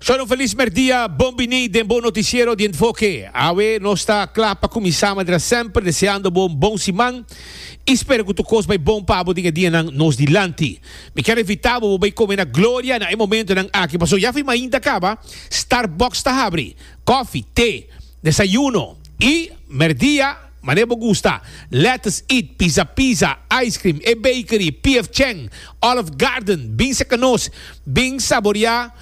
Shon un felis merdia, bon bini den bo noticiero di Enfoke. Awe nos ta kla pa kuminsá manera semper deseando bo un bon siman i spera ku tur kos bai bon pa bo den e dianan nos dilanti. Mi kier invitá bo bo bai kome na Gloria na e momentonan aki pasobra ya fin mainta kaba Starbucks ta habri. Kofi, te, desayuno i merdia manera bo gusta. Lettuce Eat, Pizza Pizza, Ice Cream, E Bakery, PF Chang, Olive Garden, bin seka nos, bin saboreá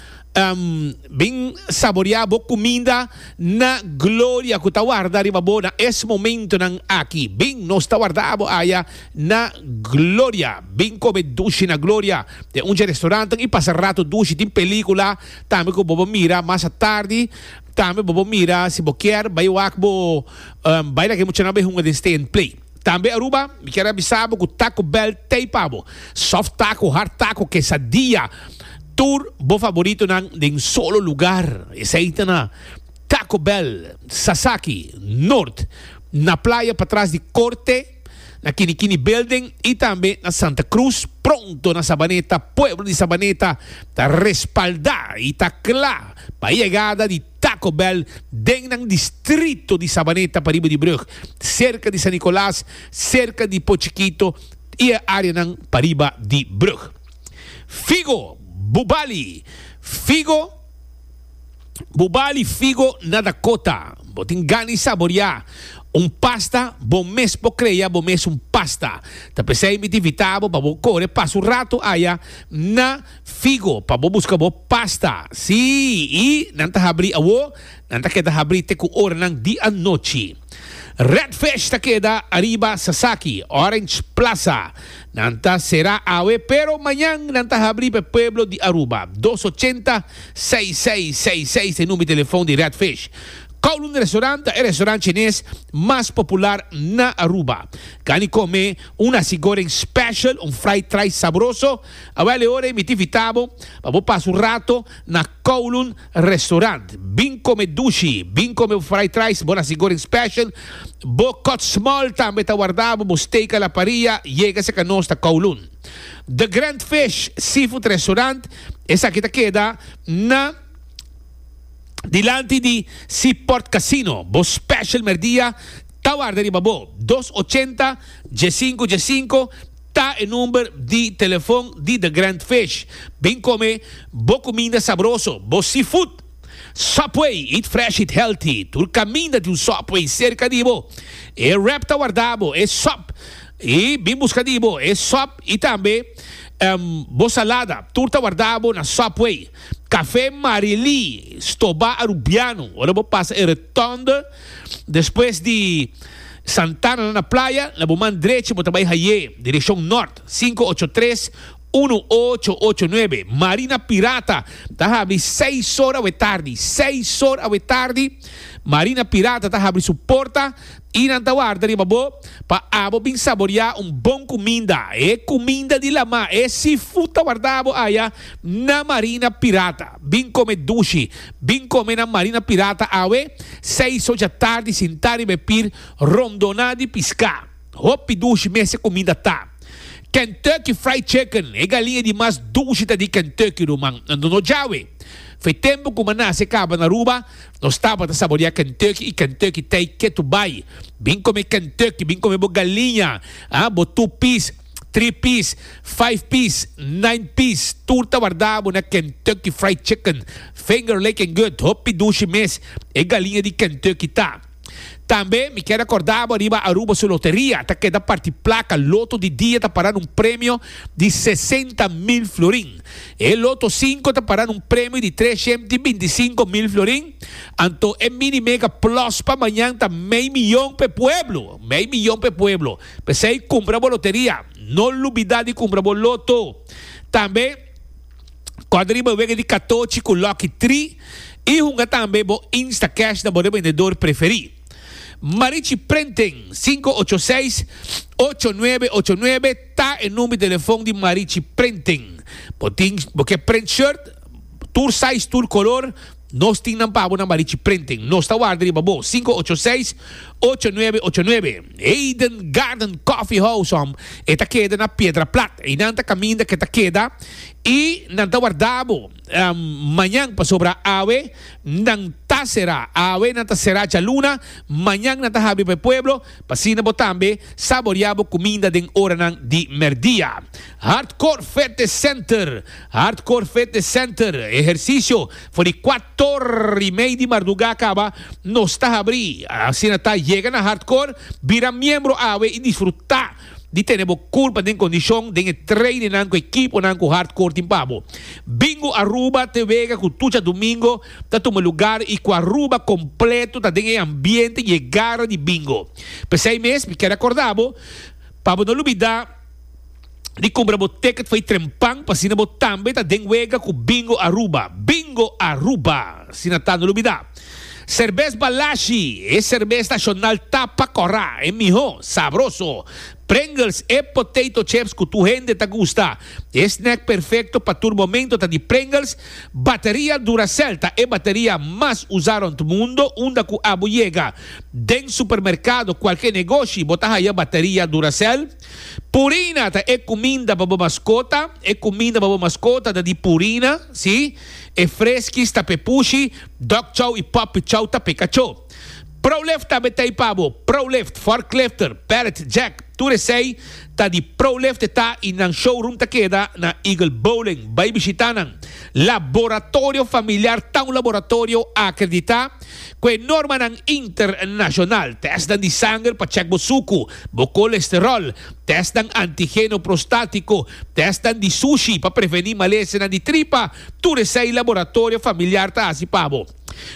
bin saboreá bo kuminda na Gloria ku ta warda riba bo na es momentonan aki. Bin, nos ta warda bo aya na Gloria. Bin kome dushi na Gloria den un dje restaurantnan i pasa rato dushi. Tin pelikula Tambe ku bo por mira mas atardi, tambe bo por mira si bo kier bai wak bo bai laga e muchanan bai hunga den Stay and Play. Tambe Aruba, mi kier a bisa bo ku Taco Bell t'ei pa bo. Soft taco, hard taco, quesadilla, tur bo favoritonan den solo lugar. Esei ta na Taco Bell, Sasaki, Noord, na playa patras di Corte. na Kinikini Building y tambe na Santa Cruz. Pronto na Sabaneta, pueblo di Sabaneta ta respalda y ta cla pa e yegada di Taco Bell den nan distrito di Sabaneta pariba di brug, cerca di San Nicolas, cerca di Pochiquito y e areanan pariba di brug. Figo Bubali Figo. Bo bali figo na Dakota. Bo tin gana di saboreá un pasta? Bo mes por krea bo mes un pasta. Ta p'esei mi ta invitá bo pa bo kore pasa un rato aya na Figo pa bo buska bo pasta. Sí, i nan ta habrí awó, nan ta keda habrí te ku oranan di anochi. Red Fish ta keda ariba Sasaki, Orange Plaza. Nan ta será awe, pero mañan nan ta habrí pa e pueblo di Aruba. Dos ochenta. 6666 ta e number di telefon di Red Fish. Kowloon Restaurant ta e restaurant chines mas popular na Aruba. Gani come un nasi goreng special, un fried rice sabroso. Awel e ora e mi ta invita bo pa bo pasa un rato na Kowloon Restaurant. Bin come dushi, bin come bo fried rice, bo nasi goreng special, bo cut small tambe ta warda bo, bo steak a la parilla, yega cerca nos ta Kowloon. The Grand Fish Seafood Restaurant, esaki ta keda na dilanti di Seaport Casino. Bo special merdia ta warda riba bo. Dos ochenta, diesinco diesinco ta e number di telefon di The Grand Fish. Bin come bo cuminda sabroso, bo seafood. Subway, eat fresh, eat healthy. Tur caminda tin un Subway cerca di bo. E wrap ta warda bo, e sub. I bin buska di bo e sop i tambe bo salada. Tur ta warda bo na Subway. Café Marily, Stoba Arubiano. Ora bo pasa e rotonde despues di Santana na playa, na bo man drechi bo ta bai haye direccion nort, 583 1889. Marina Pirata ta habri seis or awe tardi. Seis or awe tardi Marina Pirata ta habri su porta. I nan ta warda riba bo pa abo bin saboriá un bon kuminda, e kuminda di lamá, e seafood ta warda bo aya na Marina Pirata. Bin kome dushi, bin kome na Marina Pirata awe, seis ocha tardi sintá riba e pir rondoná di piská. Hopi dushi mes e kuminda ta. Kentucky Fried Chicken, e galiña di mas dushi ta di Kentucky, ruman. Anto no djawe. Fe tempu ku mi a nase kaba na Aruba, Nos tabata saborea Kentucky y Kentucky t'ey ketu bay. Bin come Kentucky, bin come bo galiña, ah, bo two piece, three piece, five piece, nine piece, tur ta warda bo na Kentucky Fried Chicken. Finger licking good, hopi dushi mes e galiña di Kentucky ta. Tambe mi kier acorda bo ariba Aruba su loteria ta keda parti placa loto di dia ta para na un premio di 60 mil florin. E loto 5 ta para na un premio di 325 mil florin. Anto e mini mega plus pa mañan ta mei miyon p'e pueblo. Mei miyon p'e pueblo. P'esey cumpra bo loteria. No lubida di cumpra bo loto. Tambe. Kòrda riba e wega di katochi ku Lucky Tree i hunga tambe bo Instacash na bo rebendedor preferí. Marichi Printing, 586 8989 ta e number di telefon di Marichi Printing. Bo tin, bo ke print shirt, tur size, tur kolor. Nos tin nan pa bo na Marichi Printing. Nos ta warda riba bo. 586 8989. Eden Garden Coffee House om. E ta keda na Piedra Plat. Einan ta kaminda ke ta keda i nan ta warda bo mañan pasobra awe nan ta será. Awe nan ta será djaluna, mañan nan ta habri pa e pueblo pa asina bo tambe saboreá bo kuminda den oranan di mèrdia. Hardcore Fitness Center Hardcore Fitness Center, ehercicio for di cuator y mei di marduga caba nos ta habri. Asina ta yega na Hardcore, bira miembro awe y disfruta di tene bo curpa den condicion den e trainingnan cu equiponan cu Hardcore tin pa bo. Bingo Aruba te wega cu tur djadomingo ta tuma lugar y cu Aruba completo ta den e ambiente y e gara di bingo. P'esey mes mi kier acorda bo pa bo no lubida. di kumpra bo ticket fo'i trempan pa asina bo tambe ta den wega ku Bingo Aruba. Bingo Aruba! Asina ta, no lubida. Serbes Balashi, e serbes nashonal tapa kòrá, e mihó, sabroso. Pringles, e potato chips ku tur hende ta gusta. E snack perfekto pa tur momento ta di Pringles. Bateria Duracell ta e bateria mas usá rònt mundo unda ku abo yega. Den supermerkado, kualke negoshi, bo ta haya bateria Duracell. Purina ta e kuminda pa bo maskota. E kuminda pa bo maskota ta di Purina, sí. E freskis ta p'e pushi, dog chow i puppy chow ta p'e kachó. Prolift tambe ta ei pa bo. Prolift, forklifter, pallet jack, tur esei ta di Prolift e ta i nan showroom ta keda na Eagle Bowling. Bai bishita nan. Laboratorio Familiar ta un laboratorio akreditá ku e normanan internashonal. Tèstnan di sanger pa chèk bo suku. Bo kolesterol, testnan antigeno prostátiko, testnan di sushi pa prevení malesenan di tripa, tur esei Laboratorio Familiar ta hasi pa bo.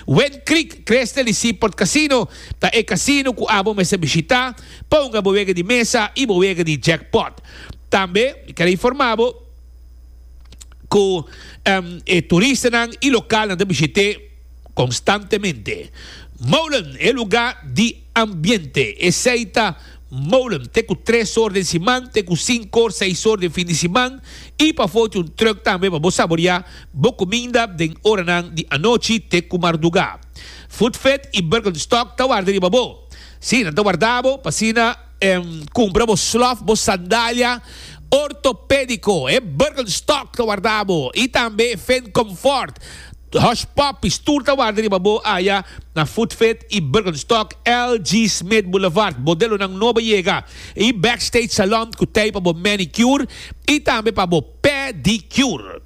Wind Creek Crystal di Seaport Casino ta e casino ku abo mester bishitá pa hunga bo wega di mesa i bo wega di jackpot. Tambe mi ker informá bo ku e turistanan i lokalnan ta bishit'é. Konstantemente. Molen, e lugá di ambiente. Esei ta Molen te ku tres or den siman, te ku sinku or, seis or den fin di siman i pafó tin un trùk tambe pa bo saboriá bo kuminda den oranan di anochi te ku mardugá. Food Fit i Birkenstock ta warda riba bo. Sí, nan ta warda bo pa asina Cumpra bo slof, bo sandalia ortopedico, e Birkenstock ta warda bo y tambe e Finn Comfort, Hush Puppies, tur ta warda riba bo aya na Footfit y Birkenstock, LG Smith Boulevard. Modelonan nobo yega y Backstage Salon cu tey pa bo manicure y tambe pa bo pedicure.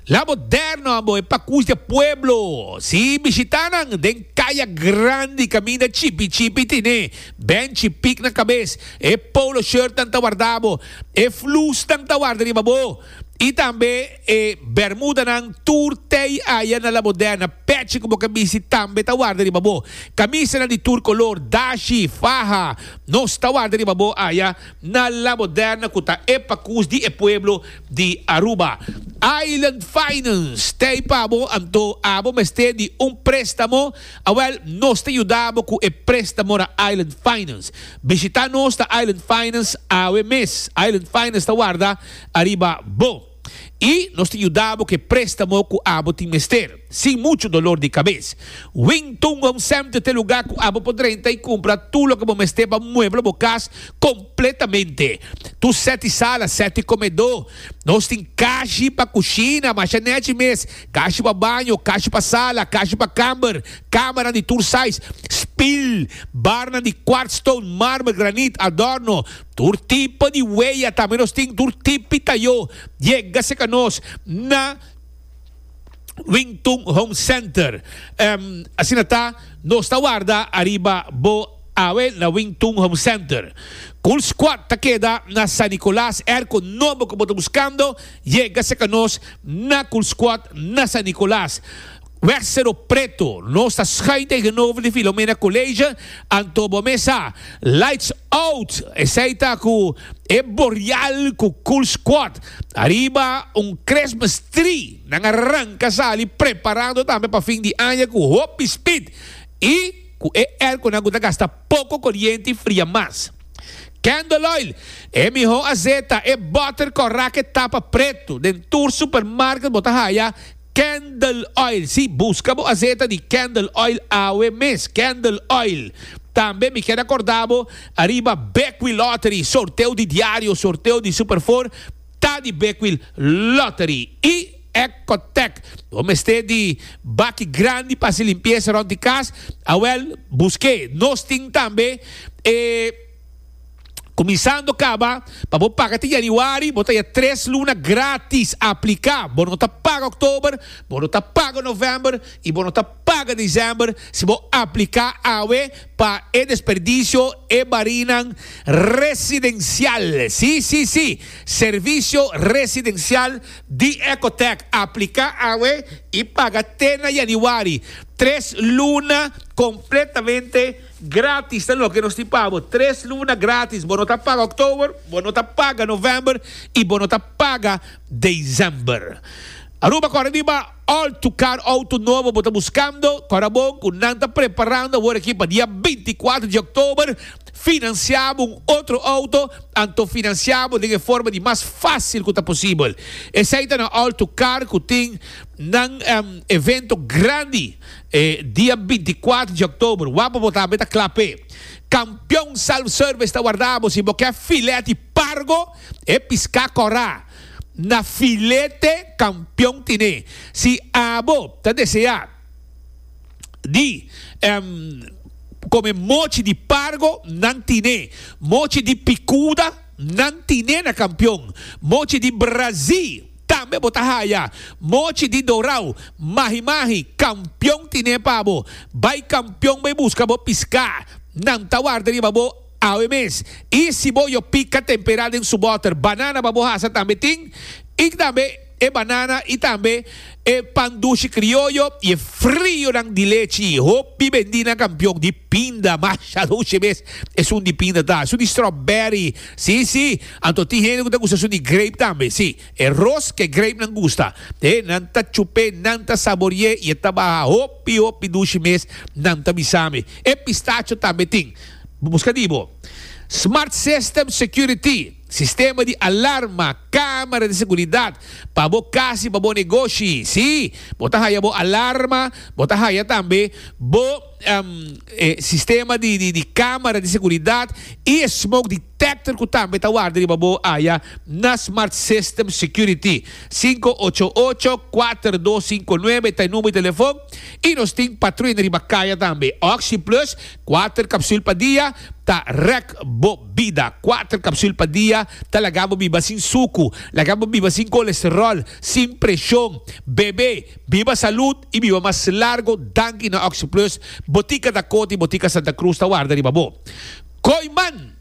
La Moderno abo e pakus di e pueblo. Si bishita nan den Kaya Grandi kaminda chipi chipi tine benchi pik na kabes. E polo shirtnan ta warda bo, e flusnan ta warda riba bo i tambe e bermudanan tur tei aya na La Moderna. Pechi ku bo ke bisti tambe ta warda riba bo. Kamisanan di tur kolor, dashi, faha, nos ta warda riba bo aya na La Moderna ku ta e pakus di e pueblo. di Aruba. Island Finance ta ei pa bo, anto abo mester di un prestamo? Awel, nos ta yuda bo ku e prestamo na Island Finance. Bishita nos na Island Finance awe mes. Island Finance ta warda ariba bo. I nos ta yuda bo ku e prestamo ku abo tin mester, sin muchu dolor di kabes. Wingtung Home Center ta e luga ku abo por drenta i kumpra tur loke bo mester pa muebla bo kas Completamente. Tur seti sala, seti comedor. Nos tin kashi pa cushina, masha nechi mes. Kashi pa baño, kashi pa sala, kashi pa kamber, cameranan di tur size, spiel, barnan di quartzstone, marmer, granit, adorno, tur tipo di weya tambe nos tin, tur tipi tayo. Yega cerca nos na. Wingtung Home Center. Asina ta, nos ta warda ariba bo awe na Wingtung Home Center. Cool Squad ta keda na San Nicolas. Airco nobo ku bo ta buskando, yega serka nos na Cool Squad na San Nicolas. Weg Cerro Preto, nos ta schuin tegenover di Filomena College, anto bo mes sa, lights out, esei ta ku e borial ku Cool Squad. Ariba un Christmas tree nan a ranca sali preparando tambe pa fin di aña cu hopi speed y cu e airconan cu ta gasta poco coriente y fria mas. Candle oil, e miho azeta, e butter cora ke tapa preto den tur supermarket bo ta haya. Candle Oil. Sí, buska bo azeta di Candle Oil awe mes. Candle Oil. Tambe mi kier acorda bo ariba Bekwil Lottery, sorteo di diario, sorteo di Super Four ta di Bekwil Lottery. Y Ecotec. Bo mester di baki grandi pa haci limpieza rond di cas? Awel, busk'e. Nos tin tambe e. Kuminsando kaba pa bo paga te januari, bo ta ya tres luna gratis. Apliká! Bo no ta paga oktober, bo no ta paga novèmber i bo no ta paga desèmber si bo apliká awe pa e desperdisio e barinan residensial. Sí, sí, sí! Servisio residensial di Ecotech. Apliká awe i paga te na januari. Tres luna kompletamente. Gratis ta loke nos tin pa bo. Tres luna gratis. Bo no ta paga oktober, bo no ta paga november y bo no ta paga december. Aruba kore riba All to Car auto nobo bo ta buscando. Kora bon cu nan ta preparando awor aki pa dia 24 di oktober financia bo un otro auto, anto financia bo den e forma di mas facil cu ta posibel. Esey ta na All to Car cu tin nan evento grandi. E dia 24 di oktober, wak bo tambe ta kla p'e. Kampion Self Service ta warda bo si bo ke filet di pargo, e piská kòrá. Na filete Kampion tine. Si abo ta deseá di kome mochi di pargo, nan tine. Mochi di pikuda, nan tine na Kampion. Mochi di brazí. Tambe bo ta haya mochi di dorau, mahi mahi, kampion tine pa bo. Bai kampion bai buska bo piská. Nan ta warda riba bo awe mes. I si bo yo pika tempera den su bòter, banana pa bo hasa tambe tin. I tambe e banana i tambe e pan dushi krioyo i e frionan di lechi. Hopi bendí na kampion di pinda, masha dushi mes esun di pinda ta. Esun di strawberry. Sí, sí. Anto tin hende ku ta gusta esun di grape tambe. Sí, e ros ku e grapenan gusta. E nan ta chup'é, nan ta sabori'é i e ta baha hopi, hopi dushi mes, nan ta bisa mi. E pistacho tambe tin. Bo buska di bo. Smart System Security, sistema di alarma, camera di seguridad pa bo cas i pa bo negoshi. Sí, bo ta haya bo alarma, bo ta haya tambe bo. E sistema di di camera di seguridad y e smoke detector cu tambe ta warda riba bo aya na Smart System Security. 588-4259 ta e number di telefon y nos tin patruina riba caya tambe. Oxi Plus, cuater capsul pa dia ta rek bo bida. Cuater capsul pa dia ta laga bo biba sin sucu, laga bo biba sin colesterol, sin presion. Bebe. Biba salud y biba mas largo danki na Oxi Plus, Botica Dakota y Botica Santa Cruz ta warda riba bo. Kooyman!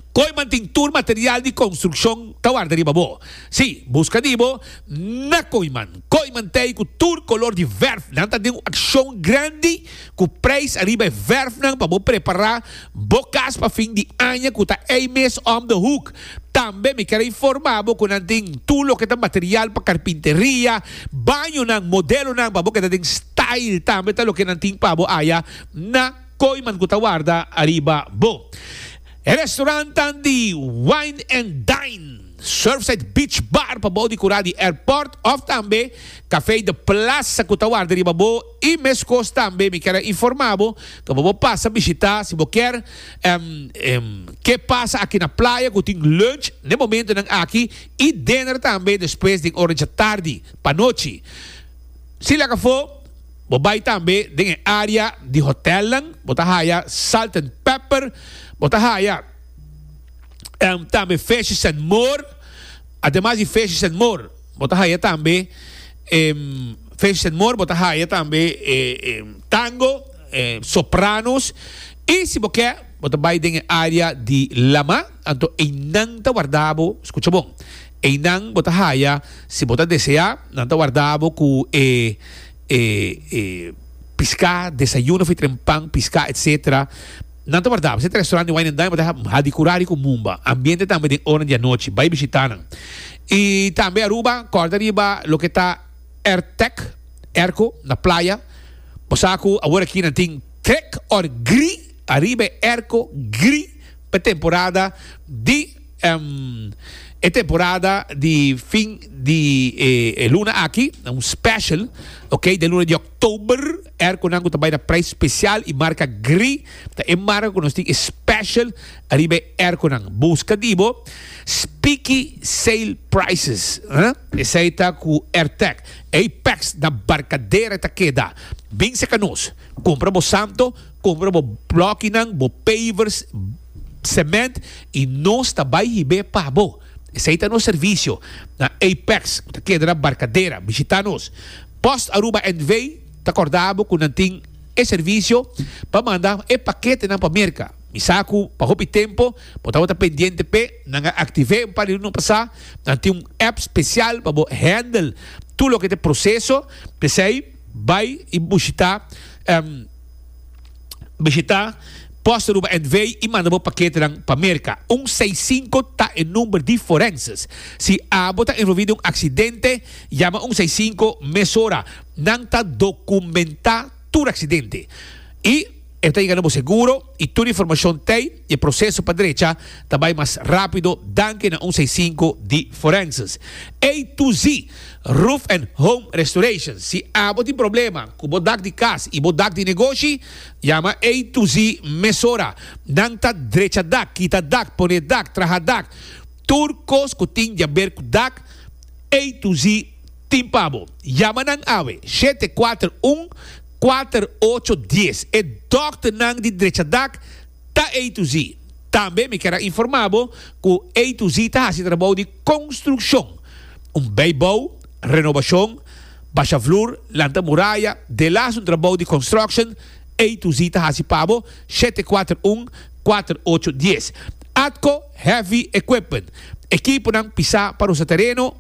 Kooyman tin tur material di construccion ta warda riba bo. Si, busca di bo na Kooyman. Kooyman t'ey cu tur color di verf. Nan ta den un accion grandi cu prijs ariba e verfnan pa bo prepara bo cas pa fin di aña cu ta ey mes om de hoek. Tambe mi kier a informa bo cu nan tin tur loke ta material pa carpinteria, bañonan, modelonan pa bo keda den style tambe ta loke nan tin pa bo aya na Kooiman cu ta warda ariba bo. E restaurantnan di Wine and Dine, Surfside Beach Bar pa bou di cura di airport of tambe Café de Plaza cu ta warda riba bo y mescos tambe mi kier a informa bo cu bo por pasa bishita si bo kier Ke pasa aki na playa ku tin lunch n'e momentonan aki i dinner tambe despues den ora djatardi pa nochi. Si laga afó, bo bai tambe den e área di hotelnan, bo ta haya Salt and Pepper, bo ta haya tambe Fishes and More, ademas di Fishes and More, bo ta haya tambe Fishes and More, bo ta haya tambe Tango. Sopranos y si bo ke bo ta bay den e area di lama anto eynan ta warda bo, scucha bon, eynan bo ta haya si bo ta desea nan ta warda bo cu e e e pisca, desayuno of e trempan, pisca etc. Nan ta warda bo. Si ta restaurant di Wine and Dine bo ta hadi curari cu mumba. Ambiente tambe den ora di anochi, bay bishita nan. Y tambe Aruba corda riba loke ta Airtec, airco, na playa. Bo sa cu awor aki nan tin trek or gri ariba e airco gri pa e temporada di E temporada di fin di e luna aki, un special, ok, den luna di oktober, airconan ku ta bai na prijs special i marka Gree ta e marka ku nos tin e special ariba e airconan. Buska di bo Speaky Sale Prices, esei ta ku Airtec. Apex na Barcadera ta keda. Bin seka nos, kumpra bo santo, kumpra bo blokinan, bo pavers, cement y nos ta bay hib'é pa bo. Esey ta nos servicio na Apex cu ta keda na Barcadera. Bishita nos. Post Aruba NV ta corda bo cu nan tin e servicio pa manda e paketenan pa Merca. Mi sa cu pa hopi tempo bo tabata pendiente p'e, nan a activ'é un par di luna pasa. Nan tin un app special pa bo handle tur loke ta e proceso. P'esey bay y bushita. Bishita Post Aruba NV y manda bo paketenan pa Merca. Un seis sinku ta e number di forenses. Si abo ta envolvi den un accidente, yama un seis sinku mesora. Nan ta documenta tur accidente. Y e ta yega na bo seguro y tur informacion t'ey y e proceso pa drecha ta bay mas rapido danki na un seis sinku di forenses. A to Z Roof and Home Restoration. Si abo tin problema ku bo dak di kas i bo dak di negoshi, yama A to Z mesora. Nan ta drecha dak, kita dak, pone dak, traha dak. Tur kos ku tin di aber ku dak, A to Z tin pa bo. Yama nan awe, 741 4810. E dòkternan di drecha dak ta A to Z. Tambe mi kier a informa bo ku A to Z ta hasi trabou di konstrukshon. Un bijbouw, renobashon, basha vloer, lanta muraya, delas un trabou di construction, A to Z ta hasi pa bo, 741 4810. Atco Heavy Equipment, ekiponan pisá pa rosa tereno,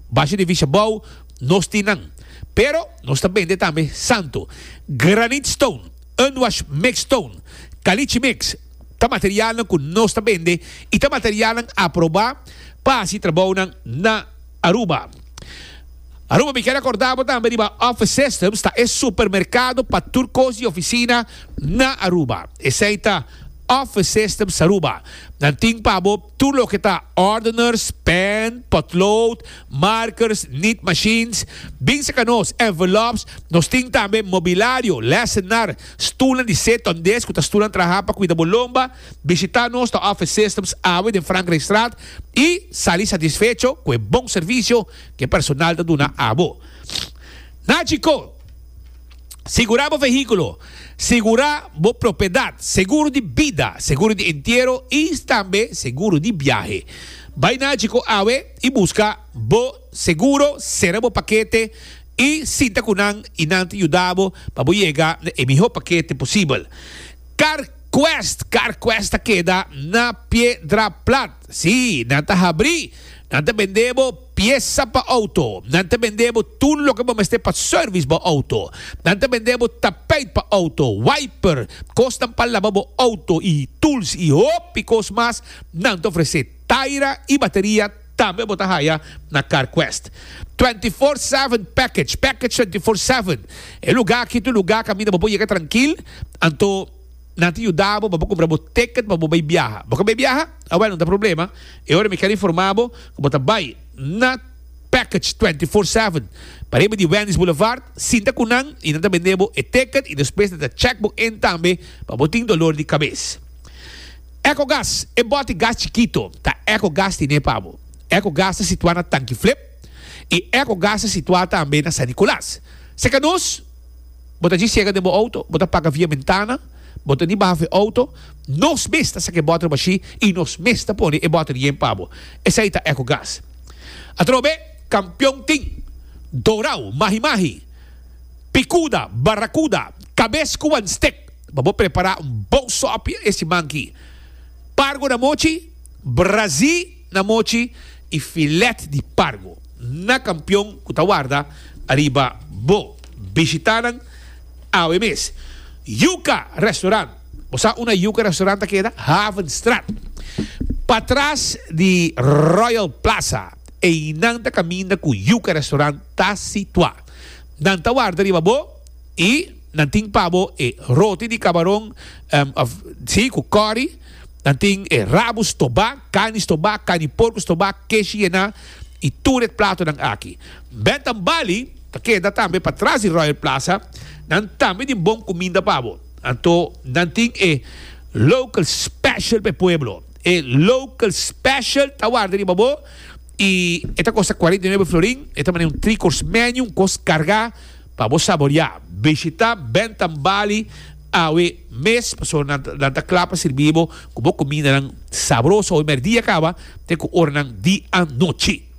basha di visha bou, nos tin nan. Pero nos ta bende tambe santo, granite stone, unwash mix stone, caliche mix, Ta materialnan ku nos ta bende i ta materialnan aprobá pa hasi trabounan na Aruba. Aruba mi kier akorda bo tambe riba Office Systems ta e supermerkado pa tur kos di ofisina na Aruba. Esei ta Office Systems Aruba. Nan tin pa bo tur loke ta ordeners, pen, potlood, markers, nit machines. Bin saka nos envelops. Nos tin tambe mobilario, lessenaar. Stulnan di Seton Desk ku ta stulnan traha pa kuida bo lomba. Bishita nos ta Office Systems awe den Frankrijkstraat i sali satisfecho ku e bon servisio ku e personal ta duna abo. Nachi Ko! Sigurá bo vehíkulo, sigurá bo propiedat, seguro di bida, seguro di entiero i tambe seguro di biahe. Bai Nachi Ko awe i buska bo seguro, sera bo pakete i sinta ku nan i nan ta yuda bo pa bo yega na e mihó pakete posibel. CarQuest, CarQuest ta keda na Piedra Plat. Sí, nan ta habrí. Nan ta bende bo piesa pa outo. Nan ta bende bo tur loke bo mester pa service bo outo. Nan ta bende bo tapijt pa outo, wiper, kosnan pa laba bo outo i tools i hopi kos mas nan ta ofresé. Taira i bateria Tambe bo ta haya na CarQuest. 24/7 package, package 24/7. E luga aki ta un luga kaminda bo por yega trankil, anto nan ta yuda bo pa bo kumpra bo ticket pa bo bai biaha. Bo ka bai biaha? Awel, no ta problema. E ora mi kier informa bo ku bo ta bai na Package 24/7 pariba di Wendy's Boulevard, sinta ku nan i nan ta bende bo e ticket i despues nan ta check bo in tambe pa bo tin dolor di kabes. Ecogas, e bòti gas chikito ta Ecogas tine pa bo. Ecogas ta situá na Tanki Flip i Ecogas ta situá tambe na San Nicolas. Serka nos, bo ta djis yega den bo outo, bo ta paga via bentana, bo ta ni baha for e outo, nos mes ta saka e bòter bashí i nos mes ta pone e bòter yen pa bo. Esei ta Ecogas. Atrobe, kampion tin, Dorau, Mahi Mahi, Picuda, Barracuda, Kabes ku wan stek. Pa bo prepará un bon sòpi e siman ki. Pargo na mochi, brazí na mochi i filet di pargo na kampion ku ta warda ariba bo. Bishitá nan awe mes. Yuca Restaurant. Bo sa unda Yuca Restaurant ta keda? Havenstraat. Patras di Royal Plaza. Einan ta kaminda ku Yuca Restaurant ta situá. Nan ta warda riba bo i. Nan tin pa bo e roti di kabaron of si ku kòri. Nan tin e rabu stobá, karni stobá, karni porko stobá, keshi yená i tur e platonan aki. Bentham Bali ta keda tambe patras di Royal Plaza. Nan tambe tin bon kuminda pa bo. Anto nan tin e local special pa e pueblo. E local special ta warda riba bo i e ta kosta 49 florin. E ta manera un three course menu, un kos kargá pa bo saboriá. Bishita Bentham Bali awe mes pasobra nan nan ta kla pa sirbi bo ku bo kumindanan sabroso awe mèrdia kaba te ku oranan di anochi.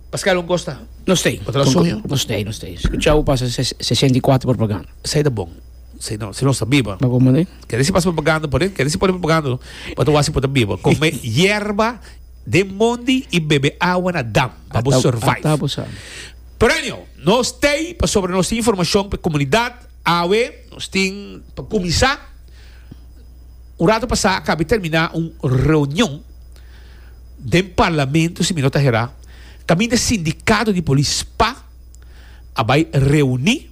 Pascal un kos ta? No stay. Bo ta na soño? No stay, no stay. Skucha bo pasa 64 propaganda. Esei ta bon. Si no, si nos ta biba. Ba como de? Kere si pasa propaganda por e, kere si pone propaganda no. Bo ta wak si bo ta biba. Come yerba den mondi y bebe awa na dam pa bo survive. Ata bo sa. Pero anyhow, nos tey pasobra nos tin informacion pa e comunidad. Awe nos tin pa cuminsa. Un rato pasa a caba di termina un reunion den parlamento, si mi no ta hera, caminda sindicato di polis spa a bay reuni.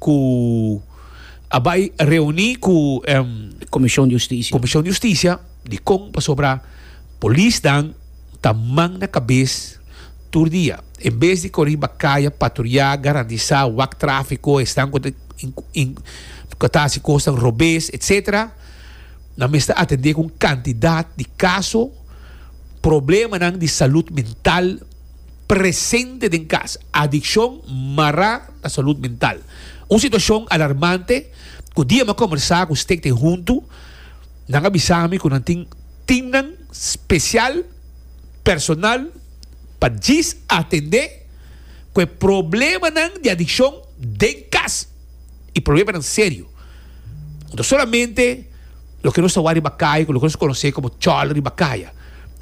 Ku a bai reuní ku Komishon di Hustisia. Komishon di Hustisia dikon pasobra polisnan ta man na kabes tur dia. En bes di kore riba kaya patruyá, garantisá, wak tráfiko, esnan ku ta ku ta hasi kosnan robes etsetera, nan mester atendé ku un kantidat di kaso, problemanan di salud mental. Presente den kas, adikshon mará na salud mental. Un situashon alarmante ku dia mi a kombersá ku Stichting Huntu, nan a bisa mi ku nan tin timnan spesial, personal, pa djis atendé ku e problemanan di adikshon den kas i problemanan serio. No ta solamente loke nos ta wak riba kaya ku loke nos konosé komo chòler riba kaya.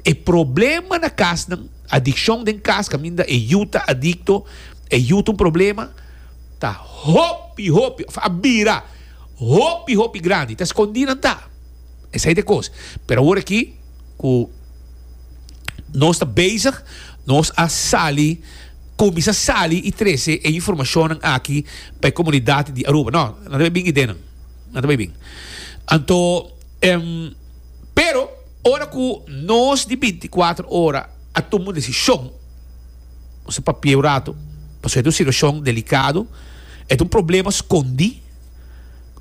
E problema na kasnan. Adikshon den kas kaminda e yu ta adikto, e yu ta un problema, ta hopi hopi of a bira hopi hopi grandi. Ta skondí nan ta. Esei ta e kos. Pero awor aki ku nos ta bezig, nos a sali, kuminsá sali i trese e informashonnan aki pa e komunidat di Aruba. No, nan ta bai bin idenan. Nan ta bai bin. Anto, pero. Ora ku nos di bintikuater ora a tuma un desishon, nos a papia un ratu, pasobra e ta un situashon delikado, e ta un problema skondí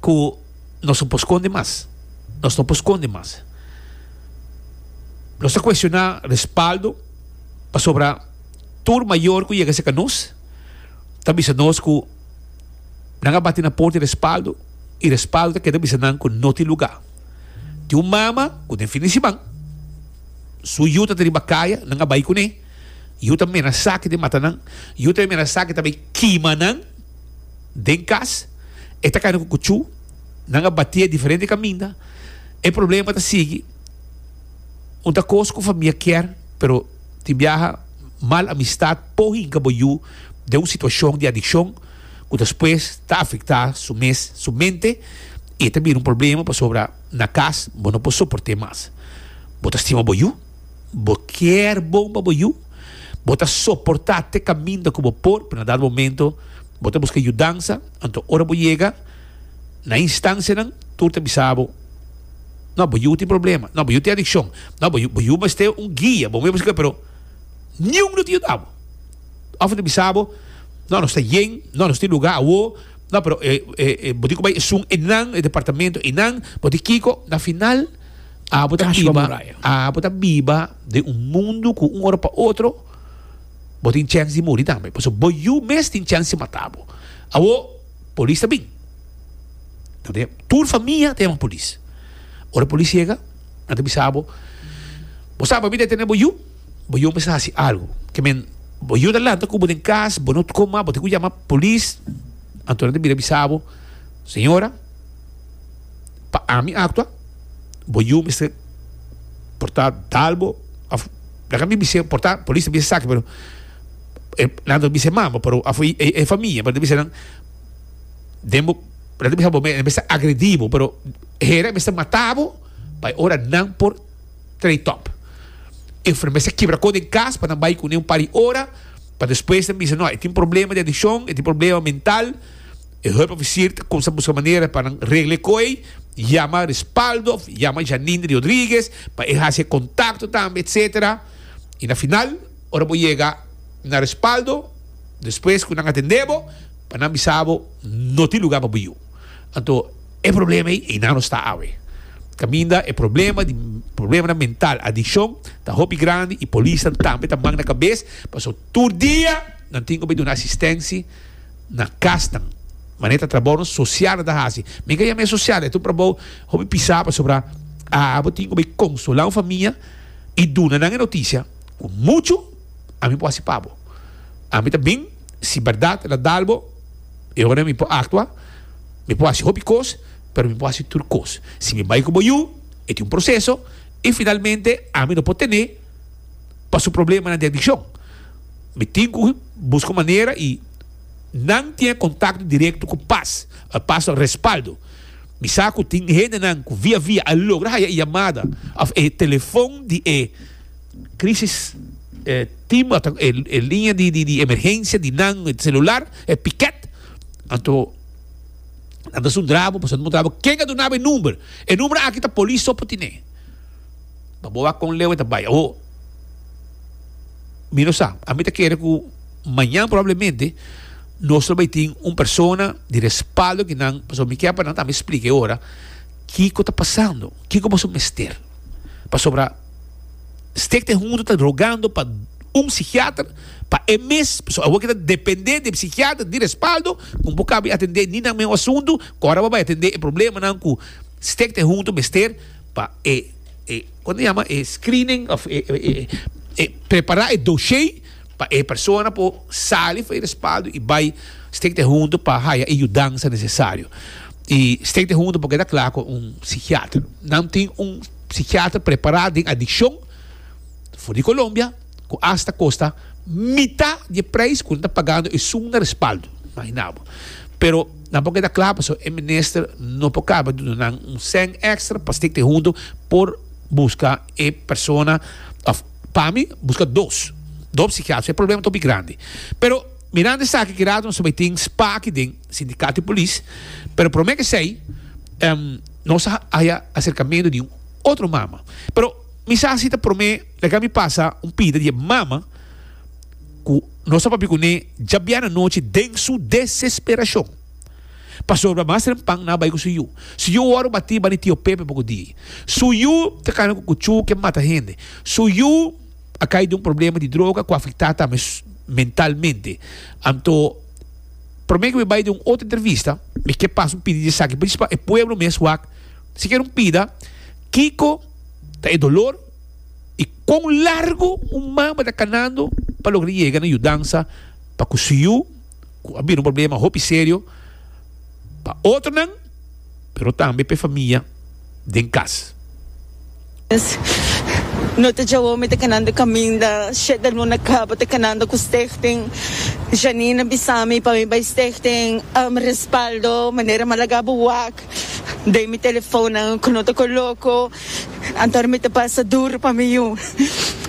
ku nos no por skonde mas. Nos no por skonde mas. Nos ta kuestioná respaldo pasobra tur mayor ku yega serka nos ta bisa nos ku nan a bati na porta di respaldo i respaldo ta keda bisa nan ku no tin lugá. Tin un mama ku den fin di siman su yu ta riba kaya, nan a bai kuné. Yu ta menasá ke ta mata nan, yu ta menasá ke ta bai kima nan den kas. E ta kana ku kuchú, nan a batié diferente kaminda. E problema ta sigui. Un ta kos ku famia kier, pero tin biaha mal amistat por hinka bo yu den un situashon di adikshon. ku despues ta afektá su mes, su mente, i e ta bira un problema pasobra na kas bo no por soport'é mas. Bo ta stima bo yu, bo kier bon pa bo yu, bo ta soportá te kaminda ku bo por, pero na dado momento bo ta buska yudansa, anto ora bo yega na e instansianan tur ta bisa bo, No, bo yu tin problema, no, bo yu tin adikshon, no, bo yu, bo yu mester un guia, bo mester, pero niun no ta yuda bo. Of ta bisa bo, no, nos ta yen, no, nos tin lugar awo, no, pero e, e, e, bo tin ku bai esun einan, e departamento einan, bo tin kiko, na final, abo ta Cash pa biba, muraya. abo ta biba den un mundu ku un ora pa otro, bo tin chèns di muri tambe. Pasobra bo yu mes tin chèns di mata bo. Awo, polis ta bin. Nan ta Tur famia ta yama polis. Ora polis yega, nan ta bisa bo, bo sa pa mi detene bo yu? Bo yu mester hasi algu. Ke men, bo yu ta lanta ku bo den kas, bo no koma, bo tin ku yama polis. Anto nan ta bira bisa bo, Señora, pa ami aktua, bo yu mester por ta dal bo, òf laga mi bis'é, por ta polis ta bisa esaki, pero e nan ta bisa e mama, pero òf e famia, pero ta bisa nan den bo, nan ta bisa bo e mester agredí bo, pero hera e mester mata bo pa e ora nan por. Trey Top. E mester kibra ko den kas pa nan bai kuné un par di ora pa despues nan bisa no e tin problema di adikshon, e tin problema mental. E hulpofisier ta kumsa buska manera pa nan regla e ko ei. Yama Respaldo of yama Janine Rodriguez pa e hasi e kontakto tambe etcetera. I na final ora bo yega na Respaldo despues ku nan atende bo pa nan bisa bo no tin luga pa bo yu. Anto e problema ei einan nos ta awe. Kaminda e problema di problemanan mental, adikshon ta hopi grandi i polisnan tambe ta man na kabes pasobra tur dia nan tin ku bai duna asistensi na kasnan. Manera ta trabounan sosial nan ta hasi. Mi ka yama e sosial, e ta un trabou hopi pisá pasobra abo tin ku bai konsolá un famia i duna nan e notisia ku muchu ami por hasi pa bo. Ami ta bin, si bèrdat el a dal bo, e ora mi por aktua, mi por hasi hopi kos, pero mi por hasi tur kos. Si mi bai ku bo yu, e tin un proseso i finalmente ami no por tene pa su problemanan di adikshon. Mi tin ku buska un manera i nan tin e kontakto direkto ku pas, pas respaldo. Mi sa ku tin hendenan ku via via a logra haya e yamada òf e telefon di e krisis team òf e liña di emergensia di nan selular, e piket. Anto nan ta sundra bo pasobra nan ta puntra bo ken a duna bo e number. E number aki ta polis so por tine. Pa bo wak kon leu e ta bai. Awor, mi no sa. Ami ta kere ku mañan probablemente nos lo bai tin un persona di respaldo ki nan, pasobra mi kier pa nan tambe splika e ora kiko ta pasando, kiko boso mester. Pasobra Stichting Hunto ta rogando pa un psikiater pa e mes, pasobra awor ki ta depende di e psikiater di respaldo ku bo kabi atende ni nan mes asuntu, ku ora bo bai atende e problemanan ku Stichting Hunto mester. Pa e e kon ta yama e screening of e e e prepara e dossier pa e persona por sali for e respaldo y bay Stichting Hunto pa haya e yudansa necesario. Y Stichting Hunto por keda kla ku un psikiater. Nan tin un psikiater prepara den adikshon for di Colombia ku asta kosta mita di e prijs ku nan ta pagando esun na respaldo. Imagina bo. Pero nan por keda kla pasobra e minister no por kaba duna nan un sèn èkstra pa Stichting Hunto por buska e persona òf pa mi buska dos, dos psikiatro. E problema ta hopi grandi. Pero mirando esaki ki rato nos ta bai tin spa aki den sindikato di polis pero prome ke esei nos a haya aserkamentu di un otro mama. Pero mi sa si ta prome laga mi pasa un pida di e mama ku nos a papia kuné djabièrnè anochi den su desesperashon. Pasobra mas rempan nan a bai ku su yu. Su yu wòrdu batí bani tio Pepe poko dia. Su yu ta kana ku kuchú ke mata hende. Su yu a kai den un problema di droga ku a afektá tambe mentalmente. Anto, promé ku mi bai den un otro entrevista, mi ke pasa un pidi di esaki pa e pueblo mes wak sikiera un pida kiko ta e dolor. I kon largu un mama ta kanando pa logra yega na yudansa pa ku su yu ku a bira un problema hopi serio pa otronan pero tambe pa e famia den kas. No ta djawo mi ta kanando kaminda shete luna kaba ta kanando ku stichting Janine a bisa mi pa mi bai stichting respaldo manera mi a laga bo wak den mi telefonnan ku no ta koloko. Anto mi ta pasa duru pa mi yu.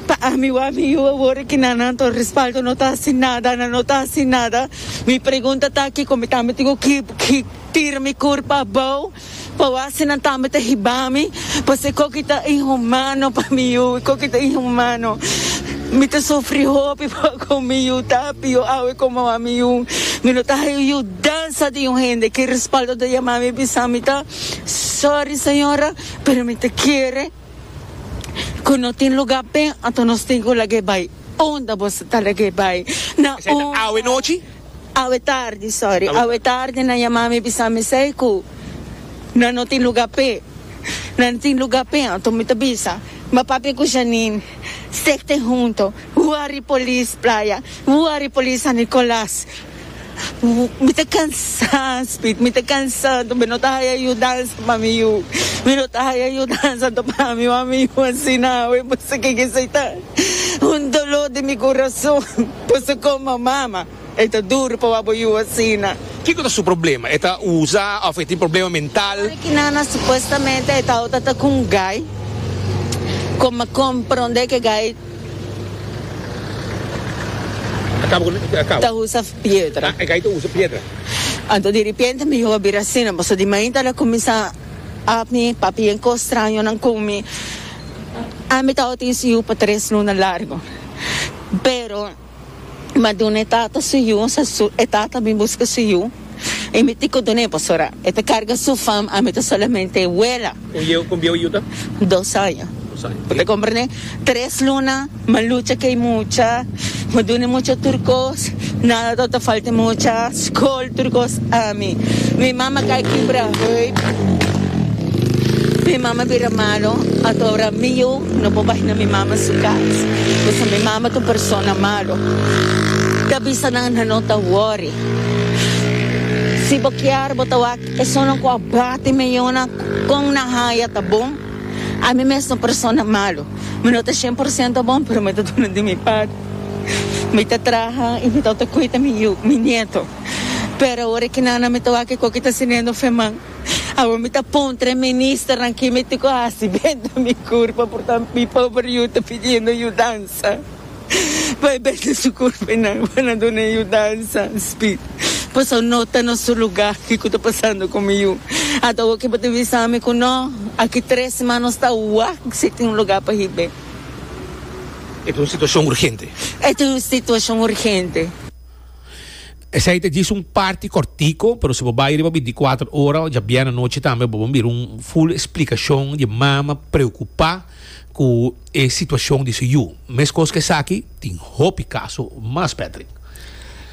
Pa ami wak mi yu awor aki nan anto respaldo no ta hasi nada, nan no ta hasi nada. Mi pregunta ta kiko mi tambe tin ku ki tira mi kurpa abou pa wak si nan tambe ta hiba mi, pasobra e koki ta inhumano pa mi yu, e koki ta inhumano. Mi ta sufri hopi pa ku mi yu ta pio awe komo a mi yu. Mi no ta haña yudansa di un hende ki respaldo ta yama mi bisa mi ta sorry señora. Pero mi ta kere ku no tin lugá p'e, anto nos tin ku lag'é bai. Unda boso ta lag'é bai? Na Esei ta unda? awe nochi? Awe tardi, sorry. Awe tardi nan yama mi bisa mi esei ku nan no tin lugá p'e. Nan no tin lugá p'e, anto mi ta bisa, Mi a papia ku Janine, Stichting Hunto, wari polis Playa, wari polis San Nicolas. Mi ta cansa Speed, mi ta cansa anto mi no ta haya yudansa pa mi yu, mi no ta haya yudansa anto pa mi wak mi yu asina awe pasobra ke esei ta un dolor den mi corazon pasobra como mama e ta duro pa wak bo yu asina. Kiko ta su problema? E ta usa of e tin problema mental? Ora ki nana supuestamente e tawata ta ku un guy, como a compronde ke guy. Ta usa piedra. Anto di repente mi yu a bira asina, pasobra di mainta el a kuminsá. ap mi, papia yen kos strañonan ku mi. Ami tabatin su yu pa tres luna largu. Pero mi a duna e tata su yu, sa su e tata bin buska su yu i mi tin ku dun'é pasobra e ta karga su fam, ami ta solamente e wela. Kon yeu kon bieu e yu ta? Dos aña. Dos aña. Bo ta komprendé? Tres luna mi a lucha ku e mucha, mi a duna e mucha tur kos, nada tabata falta e mucha, skol tur kos ami. Mi mama kai kibra heup, mi mama bira malo, anto ora mi yu no por bai na mi mama su kas, pasobra mi mama ta un persona malo. Ta bisa nan nan no ta wòri. Si bo kier bo ta wak esunnan ku a bati mi yunan kon nan haya ta bon. Ami mes ta un persona malo. Mi no ta shen por siento bon pero mi ta duna di mi parti. Mi ta traha i mi ta kuida mi yu, mi nieto. Pero awor e kinana mi ta wak e koki ta sinendo feman. Awor mi ta puntra e ministernan ki mi tin ku hasi benta mi kurpa por ta mi pober yu ta pidiendo yudansa. Pa e benta su kurpa i nan pa nan duna e yudansa. Speed. Pasobra no ta na su luga kiko ta pasando ku mi yu. Ata awor ke bo ta bisa mi ku no, aki tres siman nos ta wak si tin un luga pa hib'é. E ta un situashon urgente. E ta un situashon urgente. Esei ta djis un parti kòrtiku, pero si bo bai riba bintikuater ora djabièrnè anochi tambe bo por mira un ful splikashon di e mama preokupá ku e situashon di su yu. Meskos ku esaki tin hopi kaso mas, Patrick.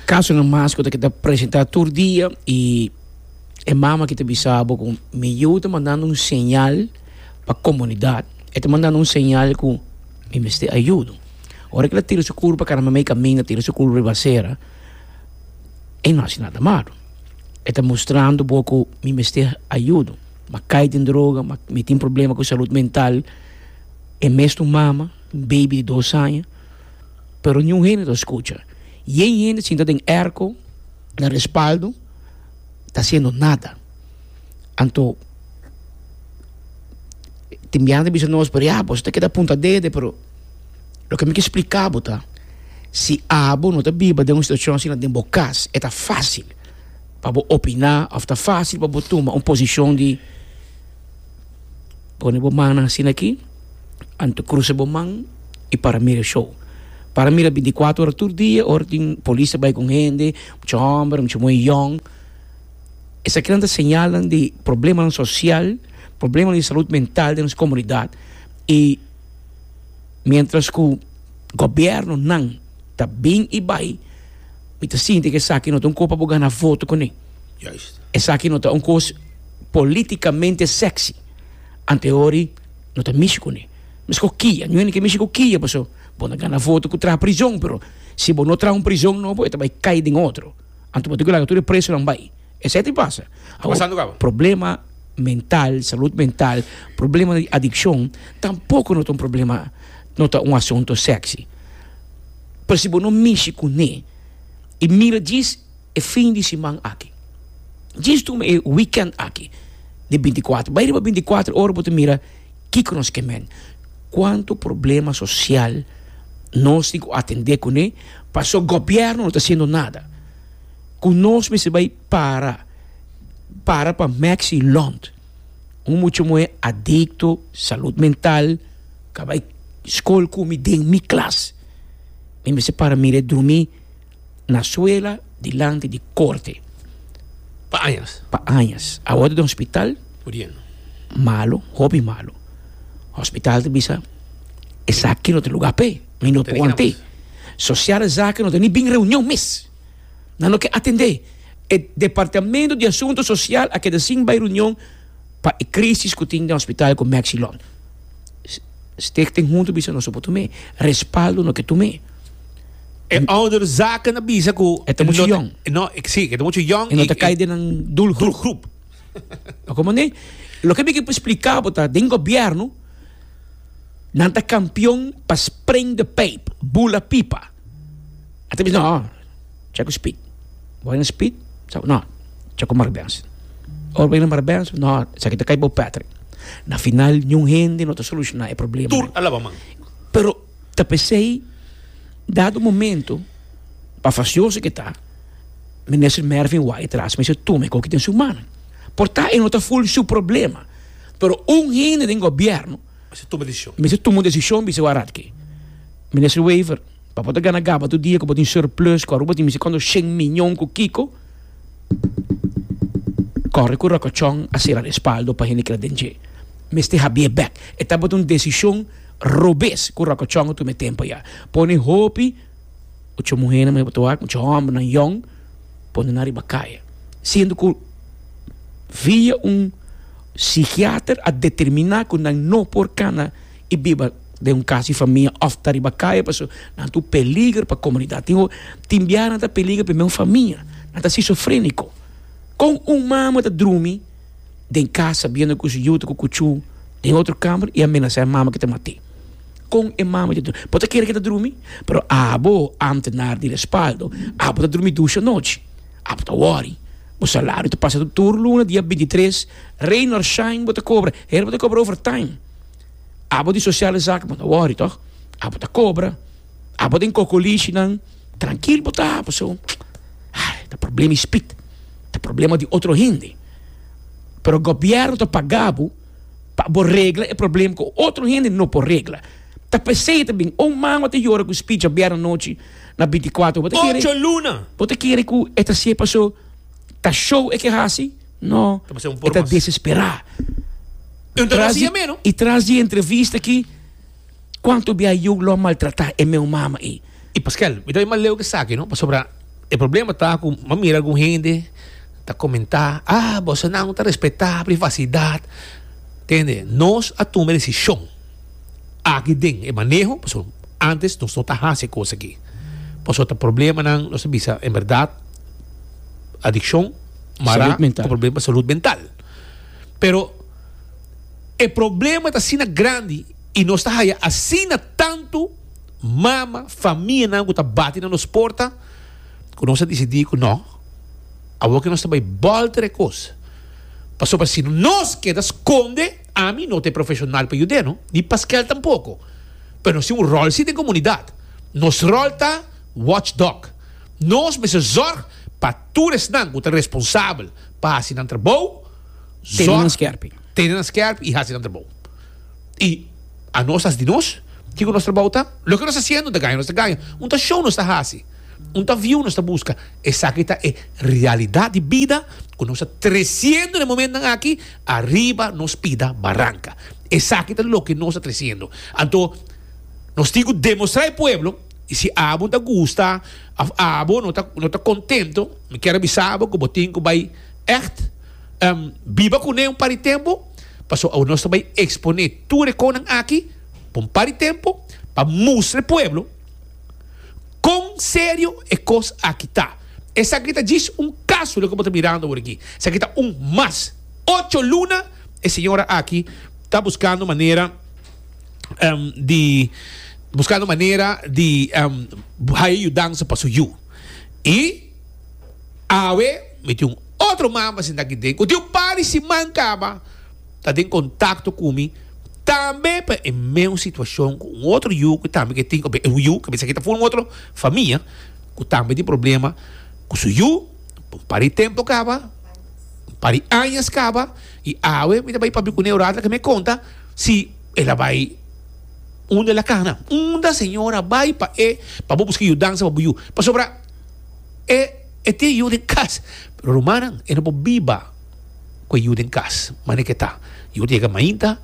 Kasonan mas ku ta keda presentá tur dia i e mama ki ta bisa bo ku mi yu ta mandando un señal pa komunidat, e ta mandando un señal ku mi mester ayudo. Ora ku el a tira su kurpa kara mamey kaminda tira su kurpa riba asera, e no hasi nada malu. E ta mustrando bo ku mi mester ayudo. M'a kai den droga, mi tin problema ku salud mental. E mes ta un mama, un baby di dos aña, pero niun hende ta skucha. Yen hende sinta den airco na respaldo ta hasiendo nada. Anto tin biaha ta bisa nos, pero ya boso ta keda punta dede, pero. Loke mi ke splika bo ta, si abo no ta biba den un situashon asina den bo kas, e ta fásil pa bo opiná òf ta fásil pa bo tuma un posishon di pone bo mannan asina aki, anto krusa bo man i para mira e show. Para mira bintikuater ora tur dia ora tin polis ta bai ku hende, mucha hòmber, mucha muhé yòn. Esakinan ta señalnan di problemanan sosial, problemanan di salud mental den nos komunidat i. Mientras cu gobiernonan ta bin y bay, mi ta sinti cu esaki no ta un cos pa bo gana voto cune. Juist. Esaki no ta un cos politicamente sexy. Anteori no ta mishi cune. Mesco kia, niun hende ke mishi cu kia paso bo na gana voto cu traha prison, pero si bo no traha un prison nobo e ta bay cay den otro. Anto bo tin cu laga tur e presonan bay. Esei ta pasa. Ta pasando caba. Problema mental, salud mental, problema di adiccion tampoco no ta un problema, no ta un asunto sexy. Pero si bo no mishi cune y mira djis e fin di siman aki, djis tuma e weekend aki di binticuatro, bay riba binticuatro ora bo ta mira kico nos ke men, cuanto problema social nos tin cu atende cune paso gobierno no ta haciendo nada. Ku nos mester bai para para pa Maxi Lond, un mucha muhé adikto, salud mental, ka bai skol ku mi den mi klas. Mi mester para mir'é drumí na suela dilanti di korte. Pa añas. Pa añas. Awor ta den hospital. Muriendo. Malo, hopi malo. Hospital ta bisa esaki no ta lugar p'e, mi no por want'é. Sociale zaken no ta ni bin reunion mes. Nan no ke atendé. E Departamento di Asunto Sosial a keda sin bai reunion pa e crisis ku tin den hospital ku Maxilon. Stichting huntu bisa nos no por tum'é. Respaldo no ke tum'é. E ouderzaken a bisa ku. E ta muchu yòn. No, si, e ta muchu yòn. E no ta kai den nan doelgroep. Doelgroep. A komprendé? Loke mi ke splika bo ta den gobièrnu nan ta kampion pa spring de pijp, bula pipa. A ta bisa, no, cha ku Speed. Bo bai na Speed? Sa, no, cha ku Mark Benson. Ora bo bai na Mark Benson, no, esaki ta kai bo Patrick. Na final, niun hende no ta solushoná e problema. Tur a laba man. Pero ta p'esei, dado momento, pa fasioso ke ta, Minister Mervin Wyatt-Ras mester tuma e koki den su man. Por ta e no ta ful su problema. Pero un hende den gobierno Mester tuma decision. Mester tuma un decision bisa warat ke. Minister Wever, pa bo ta gana gaba tur dia ku bo tin surplus ku Aruba tin mester kuantu shen miñon ku kiko, kòrre ku Rocochon a sera respaldo pa hende keda den dje. Mester habié bèk. E tabata un desishon robes ku Rocochon a tuma e tempu ayá. Pone hopi mucha muhénan bo ta wak, mucha hòmbernan yòn pone nan riba kaya. Siendo ku via un sikiater a determiná ku nan no por kana i biba den un kas di famia òf ta riba kaya pasobra nan ta un peliger pa komunidat. Tin tin biaha nan ta peliger pa e mes famia. Nan ta sisofréniko. Kon un mama ta drumi den kas sabiendo ku su yu ta ku kuchú den otro kamber i a menasá e mama ku ta mat'é? Kon e mama ta drumi? Bo ta kere ku e ta drumi? Pero abo, ámtenar di respaldo, abo ta drumi dushi anochi. Abo ta wòri. Bo salario ta pasa tur luna dia bintitres, rain or shine bo ta kobra. Hende bo ta kobra overtime. Abo di sociale zaken bo ta wòri tòg? Abo ta kobra. Abo den kokolishinan trankil bo ta pasobra ai ta problema di spit, ta problema di otro hende. Pero gobièrnu ta paga bo pa bo regla e problema ku otro hende no por regla. Ta p'esei ta bin un mama ta yora ku spit djabièrnè anochi na bintikuater. Bo ta kere Ocho luna! Bo ta kere ku e ta hasié paso ta show e ke hasi? No, Ta pasé un e por ta mas. desesperá. Un ta Tras hasié di, meno. i tras di entrevista aki, kuantu bia yu lo a maltratá e meu mama ei? I Paskel, mi ta bay mas leu ke esaki no, pasobra e problema ta ku mi a mira algun hende ta komentá, ah, bosonan no ta respetá privasidat. Tende, nos a tuma e desishon aki den e maneho, pasobra antes nos no ta hasi e kos aki. Pasobra ta problemanan, nos ta bisa en bèrdat, adikshon mará Salud mental. ku problema salud mental. Pero e problema ta asina grandi i nos ta haya asina tantu mama, famianan ku ta bati na nos porta ku nos a disidí ku no, awor ke nos ta bai bòlter e kos. Pasobra si nos keda skonde, ami no ta e profeshonal pa yud'é no, ni Paskel tampoko. Pero nos tin un ròl si den komunidat. Nos ròl ta watchdog. Nos mester zòrg pa tur esnan ku ta responsabel pa hasi nan trabou, Tene nan zòrg, skèrpi. tene nan skèrpi i hasi nan trabou. I anos hasi di nos, kiko nos trabou ta? Loke nos ta hasiendo ta gaña, nos ta gaña. Un ta show nos ta hasi, un ta view nos ta buska. Esaki ta e realidat di bida ku nos ta tresiendo na e momentonan aki ariba nos pida baranka. Esaki ta loke nos ta tresiendo. Anto nos tin ku demostrá e pueblo. I si abo ta gusta of abo no ta no ta contento, mi kier a bisa abo cu bo tin cu bay echt biba cune un par di tempo, pasobra awo nos ta bay expone tur e conan aki pa un par di tempo pa mustra e pueblo con serio e cos aki ta. Esaki ta djis un caso loke bo ta mirando awor aki. Esaki ta un mas. Ocho luna e señora aki ta buscando manera. di buscando manera di haya yudansa pa su yu. Y awe mi tin un otro mama sinta aki den cu tin un par di siman caba ta den contacto cu mi tambe pa e meun situacion cu un otro yu cu tambe ke tin un yu cu mester kita for un otro famia cu tambe tin problema cu su yu un par di tempo caba un par di añas caba y awe mi ta bay papia cune un rato laga mi conta Si el a bai unda el a kana? Unda Señor a bai pa e pa bo buska yudansa pa bo yu? Pasobra e e tin e yu den kas. Pero rumannan, e no por biba ku e yu den kas manera ke ta. Yu ta yega mainta,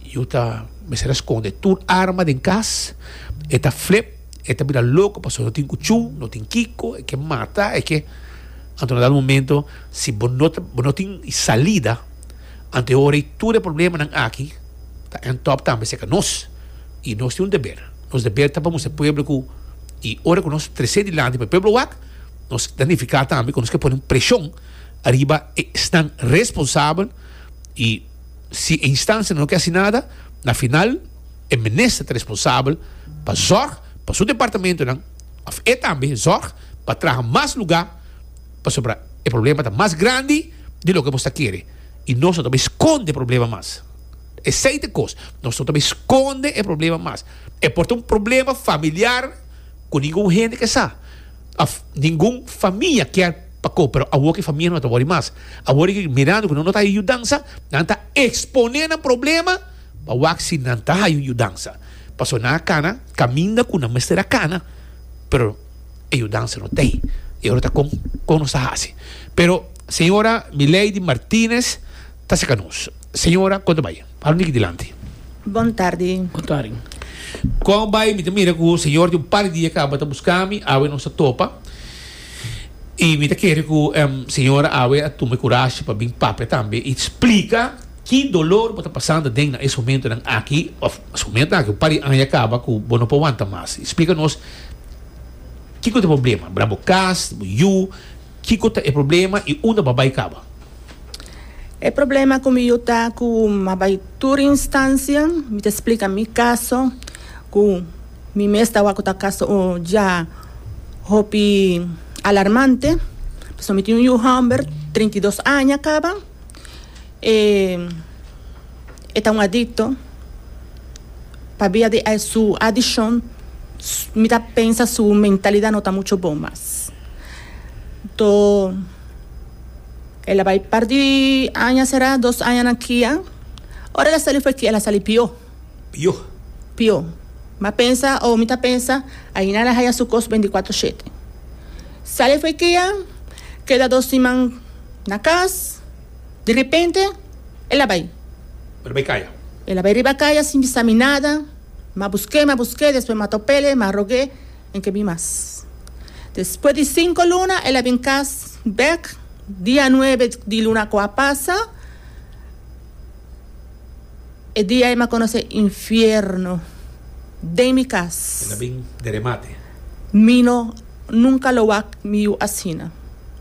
yu ta mester a skonde tur arma den kas, e ta flip, e ta bira loko pasobra no tin kuchú, no tin kiko, e ke mata, e ke. Anto na dado momento si bo no ta bo no tin salida. Anto e ora ei tur e problemanan aki ta end up tambe serka nos. I nos tin un deber. Nos deber ta pa mustra e pueblo ku i ora ku nos trese dilanti pa e pueblo wak, nos ta nifiká tambe ku nos ke pone un preshon ariba e esnan responsabel i si e instansianan no ke hasi nada, na final e minister ta responsabel pa zòrg pa su departamentonan òf e tambe zòrg pa traha mas lugá. Pasobra e problema ta mas grandi di loke bo ta kere i nos no ta bay skonde e problema mas. Esei ta e kos, nos no ta bay skonde e problema mas. E por ta un problema familiar ku ningun hende ke sa òf ningun famia kier. pa ko, pero awor ku e famia no ta wòri mas. Awor ku mirando ku nan no ta haña yudansa, nan ta eksponé nan problema pa wak si nan ta haña un yudansa. Pasobra nan a kana kaminda ku nan mester a kana, pero e yudansa no ta ei. E ora ta kon kon nos ta hasi. Pero señora Milady Martinez ta saka nos. Señora, kon ta bai? Hala un tiki dilanti. Bon tardi. Bon tardi. Kon bai? Mi ta mira ku señor di un par di dia kaba ta buska mi. Awe nos ta topa. I mi ta kere ku señora awe a tuma e kurashi pa bin papia tambe i splika ki dolor bo ta pasando aden na es momentonan aki òf es momentonan aki un par di aña kaba ku bo no por wanta mas. I splika nos kiko ta e problema na bo kas, bo yu, kiko ta e problema i unda bo a bai kaba. E problema ku mi yu ta ku mi a bai tur instansia, mi ta splika mi kaso ku mi mes ta wak ku ta kaso ya hopi alarmante, pasobra mi tin un yu hòmber 32 aña kaba, e e ta un adikto, pabia di su adikshon mi ta pensa su mentalidat no ta mucho bon mas. Anto. El a bai par di aña será, dos aña na kia. Ora el a sali for kia, el a sali pió. Pió? Pió. M'a pensa, o mi ta pensa, aina el a haya su kos beinticuatro shete. Sali for kia, keda dos siman na kas, di repente el a bai. El a bai kaya? El a bai riba kaya sin bisa mi nada. M'a busk'é, m'a busk'é, despues m'a top'el, m'a rog'é. En ke bin mas. Despues di cinco luna el a bin cas bek dia nuebe di luna cu a pasa. E dia ey mi a conoce infierno den mi cas. El a bin de remate. Mi no nunca lo wak mi yu asina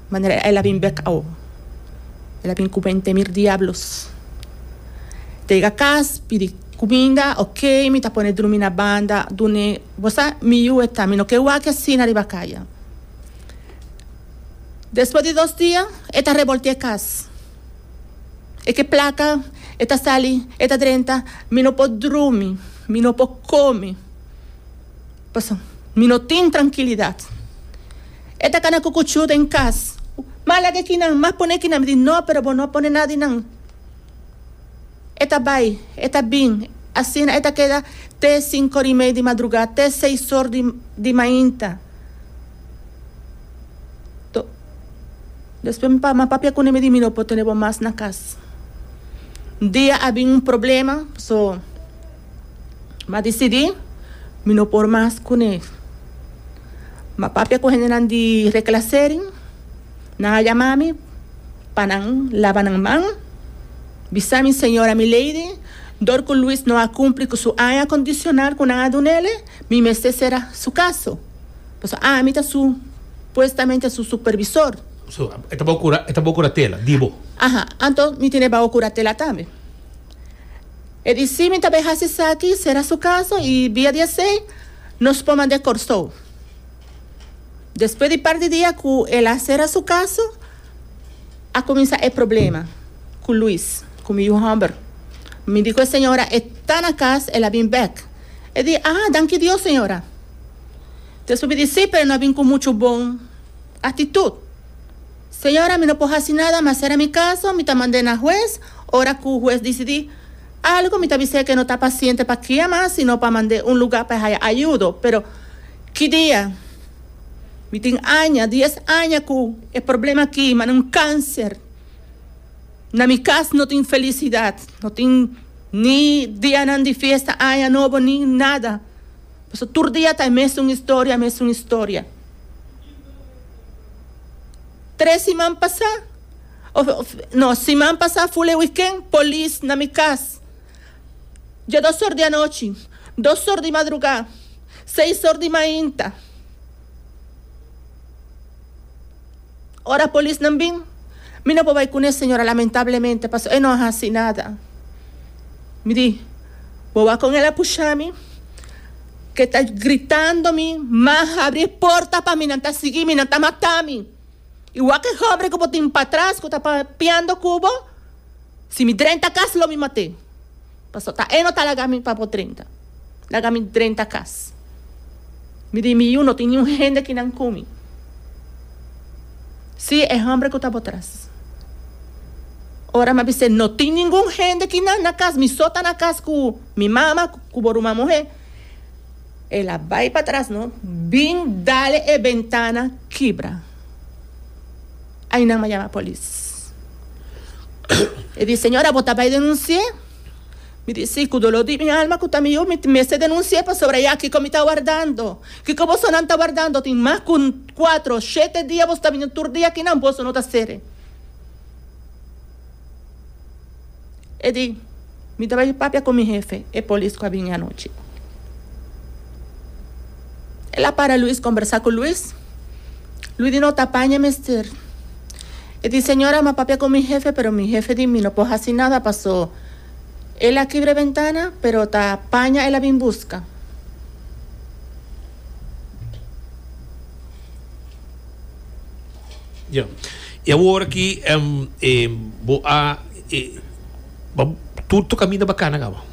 manera el a bin bek awo. El a bin cu bente mil diablos. Ta yega cas pidi cuminda ok mi ta pone drumi na banda dune. Bo sa, mi yu e ta, mi no ke wak asina riba kaya. Despues di dos dia, e ta reboltia e kas. E ke plaka, e ta sali, e ta drenta, mi no por drumi, mi no por kome, pasobra mi no tin trankilidat. E ta kana ku kuchú den kas. M'a laga kinan, m'a pone kinan. Mi di, no, pero bo no a pone nada di nan. E ta bai, e ta bin, asina e ta keda te sinku or i mei di madrugá, te seis or di di mainta. To, despues mi pa, papia kuné mi di mi no por tene bo mas na kas. Un dia a bin un problema, so m'a disidí mi no por mas kuné. M'a papia ku hendenan di reklasering, nan a yama mi pa nan laba nan man. Bisa mi señora Milady, dor cu Luis no a cumpli cu su aña condicional cu nan a dunele, mi mester cera su caso. Pasobra ami ta su, puestamente su supervisor. So, e ta bao cura, e ta bao curatela, di bo. Aha, anto mi tene bao curatela tambe. E di si mi ta bay haci esaki, cera su caso y bia di esey nos por mand'e Corsou. Despues di par di dia cu el a cera su caso, a cuminsa e problema cu Luis, cu mi yu homber. Mi di cu e señora e ta na cas, el a bin bek. E di, ah, danki Dios señora. Despues mi di, si, pero e no a bin cu mucho bon actitud. Señora, mi no por haci nada, mi a cera mi caso, mi ta mand'e na hues, ora cu hues dicidi algo, mi ta bis'e cu e no ta paciente pa kia mas, sino pa mand'e un lugar pa e haya ayudo. Pero ki dia? Mi tin aña, dies aña ku e problema aki, mane un kanser. Na mi kas no tin felisidat, no tin ni dianan di fiesta, aña nobo, ni nada. Pasobra tur dia ta e mesun historia, e mesun historia. Tres siman pasá, of no, siman pasá ful e wikènt, polis na mi kas. Dja dos or di anochi, dos or di madrugá, seis or di mainta. Ora polisnan bin, mi no por bai kuné, señora, lamentablemente, pasobra e no a hasi nada. Mi di, Bo wak kon el a pusha mi, ke ta gritando mi, Ma habri e porta pa mi, nan ta sigui mi, nan ta mata mi. I wak e hòmber ku bo tin patras ku ta papiando ku bo. Si mi drenta kas lo mi mat'é. Pasobra ta e no ta laga mi pa bo drenta. Laga mi drenta kas. Mi di mi yu no tin niun hende kinan ku mi. Sí, e homber ku ta bo tras. Ora mi a bis'é, No tin ningun hende ki na na kas, mi so ta na kas ku mi mama ku bo ruman muhé. El a bai patras no, bin dale e bentana kibra. Ainan mi a yama polis. E di, Señora, bo ta bai denunsi'é? Mi di, Sí, ku doló di mi alma ku ta mi yu, mi mester denunsi'é pasobra ya kiko mi ta wardando. Kiko bosonan ta wardando? Tin mas ku kuatro, shete dia boso ta bini tur dia akinan, boso no ta sere. E di, Mi ta bai papia ku mi hefe, e polis ku a bini anochi. El a para Luis, kombersá ku Luis. Luis di, No ta paña mester. E di, Señora, mi a papia ku mi hefe, pero mi hefe di mi no por hasi nada paso el a kibra e bentana, pero ta paña el a bin buska. Ya. Y awor aki bo a tur tu caminda ba cana caba?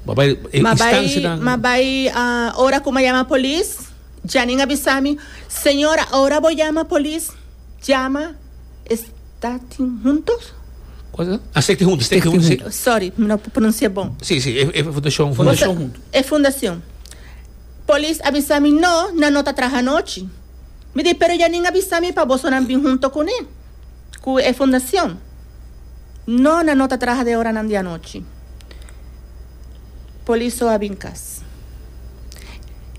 Ba bay e instancianan. Ma bay ora cu mi a yama polis, Janine a bisa mi, Señora, ora bo yama polis, yama Staten Juntos? Cual ta? Ah, Stichting Juntos, Stichting Juntos, si. Sorry, mi no por pronuncia bon. Si, si, e fundacion. Fundacion Juntos. E fundacion. Polis a bisa mi, No, nan no ta traha anochi. Mi di, Pero Janine a bisa mi pa bosonan bin hunto kuné, ku e fundacion. No, nan no ta traha den oranan di anochi. Polis so a bin kas.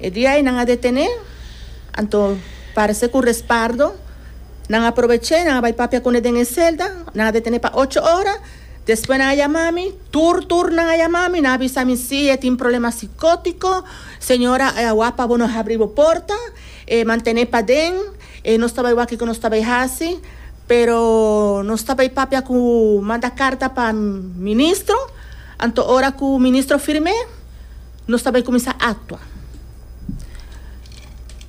E dia ei nan a detené, anto parse ku respardo nan a probeché, nan a bai papia kuné den e selda, nan a detené pa ocho ora, despues nan a yama mi, tur tur nan a yama mi, nan a bisa mi si e tin problema sikótiko, señora e awa pa bo no habri bo porta. E mantené paden, e nos ta bai wak kiko nos ta bai hasi, pero nos ta bai papia ku manda karta pa ministro, anto ora ku ministro firm'é, nos ta bai kuminsá aktua.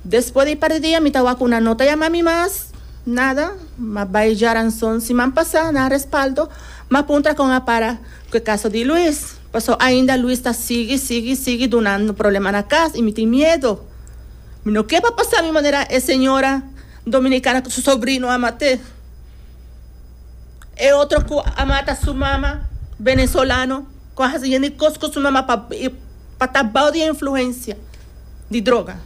Despues di par di dia mi ta wak ku nan no ta yama mi mas, nada, m'a bai djaranson siman pasá na respaldo, m'a puntra kon a para ku e kaso di Luis, pasobra ainda Luis ta sigui, sigui, sigui dunando problema na kas i mi tin miedo. Mi no ke pa pasa mi manera e señora dominicana cu su sobrino a mate. E otro cu a mata su mama venezolano cu a haci yen di cos cu su mama pa pa ta bao di influencia di droga.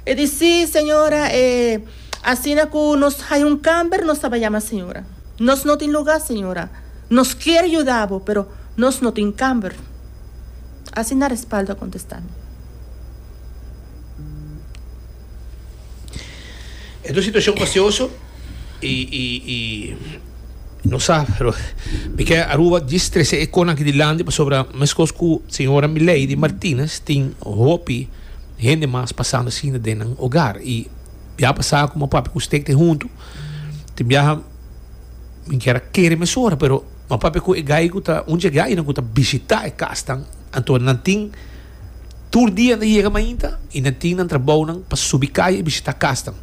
E di si señora e asina cu nos haya un camber nos ta bay yama señora. Nos no tin lugar señora. Nos kier yuda bo pero nos no tin camber. Asina Respaldo a contesta mi. E ta un situacion fastioso y y y no sa pero mi ke Aruba djis trece e conan aki dilanti pasobra mescos cu señora Milady Martinez tin hopi hende mas pasando asina den nan hogar y ya pasa cu mi a papia cu usted te hunto tin biaha mi kier a kere mesora pero mi a papia cu e guy cu ta un dje guynan cu ta bishita e casnan anto nan tin Tur dia nan yega mainta i nan tin nan trabounan pa subi kaya i bishitá kasnan,